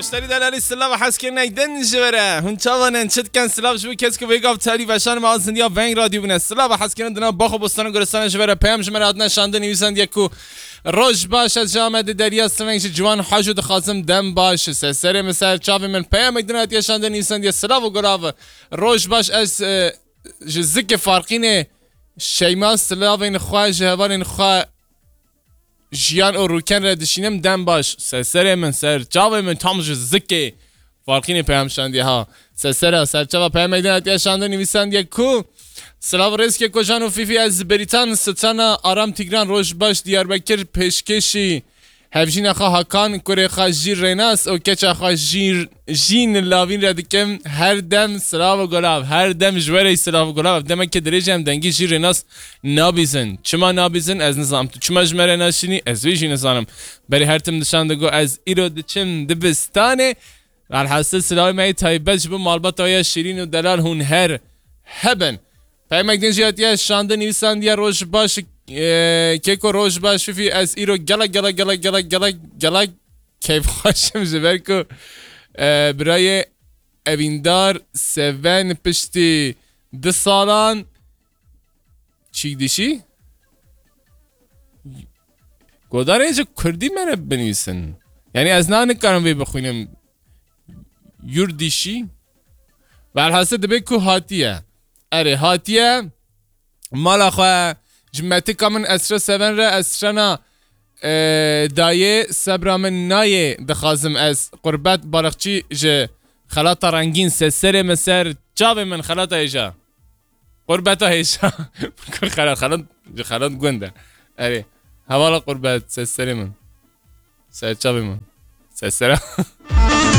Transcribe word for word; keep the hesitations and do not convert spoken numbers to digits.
Muşterî delalî silav û hezkirinê din ji we re. Hûn çawa ne, çi dikin? Silav ji bo kes ku vê gav telî veşan me a zindiya Veng Radyo bûne. Silav û hezkirin dina bax û bostan û gulistana ji we re. Peyam ji me re hatine şandin nivîsandiye ku roj baş, ez ji Amedê Derya Siveng ji Ciwan Hajo dixwazim dem baş. Ser serê min, ser çavê min peyamek din hatiye şandin nivîsandiye silav û gulav. Roj baş, ez, e, ji zikê Farqînê Şeyma silavên xwe ji hevalên xwe Jiyan û Rûken re dişînim, dem baş. Ser serê min, ser çavê min tam ji zikê Farqînê peyam şandiye ha. Ser sera, ser çava peyamek din hatiye şandin nivîsandiye ku silav rêzke kocan û Fîfî, ez Berîtan Sitana Aram Tîgran roj baş Diyarbekir pêşkêşî hevjîna xwe Hakan, kurê xwe Jîr Rênas û keça xwe Jîr, Jîn Lavîn re dikim. Her dem silav û golav, her dem ji we re silav û golav. Ev demeke dirêj e, em dengî Jîr Rênas nabîzin. Çima nabîzin? Ez nizanim. Tu çima ji me re naşînî? Ez wê jî nizanim. Berê her tim dişan digo ez îro diçim dibistanê. Velhasil silavê me yê taybet ji bo malbata ya şîrîn û delal hûn her hebin. Peyamek din jî hatiye şandin nivîsandiye roj baş, e, keko roj baş Fîfî, ez îro gelek gelek gelek gelek gelek gelek keyfxweş im ji ber ku, e, birayê Evîndar Seven piştî du salan çîk dişî. Godarê ji kurdî me re binivîsin. Yanî ez na nikarim vê bixwînim. Yurdîşî. Velhasil dibe ku hatiye. Erê, hatiye mala xwe. Ji metika min Esra Seven re, Esrana, e, dayê sebra min nayê dixwazim ez. Qurbet Balıkçı ji Xelata Rengîn, ser serê min, ser çavê min, Xelata Hêja. Qurbeta Hêja. Xelat, Xelat, ji Xelat gund e. Erê. Hevala Qurbet, ser serê min. Ser çavê min. Ser sera.